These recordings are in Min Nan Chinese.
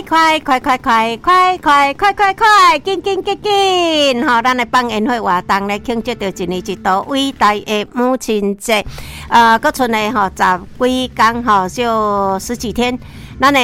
快快快快快快快快快快，緊緊緊緊！吼，咱的放煙火活動咧，慶祝著一年一度偉大的母親節。閣賰咧吼十幾工吼，少十幾天。咱的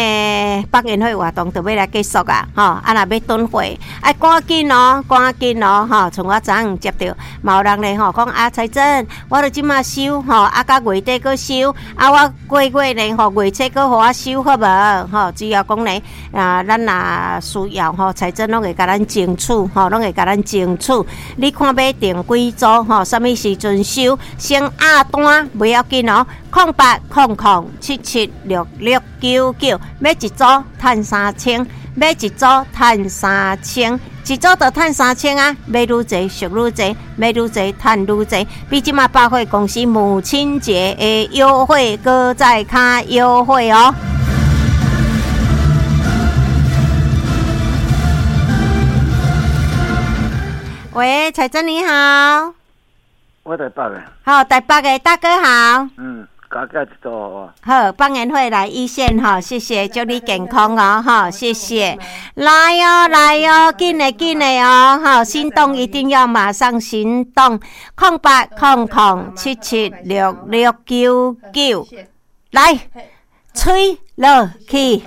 放煙火活動就欲來結束啊！吼，啊若欲囤貨，愛趕緊哦，趕緊哦！吼，像我昨昏接著，嘛有人咧吼講啊，彩珍，我著這馬收吼，啊到月底閣收，啊我過月咧吼月初閣予我收好無？吼，只要講咧啊，咱若需要吼，彩珍攏會共咱爭取吼，攏會共咱爭取。你看欲訂幾組吼，啥物時陣收，先壓單袂要緊哦，0800776699，買一組趁三千，買一組趁三千，一組就趁三千啊！買愈濟俗愈濟，買愈濟趁愈濟，比這馬百貨公司母親節的優惠閣再較優惠哦！喂，彩珍你好，我台北的。好，台北的大哥好。嗯，加價一組好啊。好，放煙火來一線哈，謝謝，祝你健康哦，哈，謝謝。來哦，來哦，緊的緊的哦，哈，心動一定要馬上行動，0800776699，來，吹落去。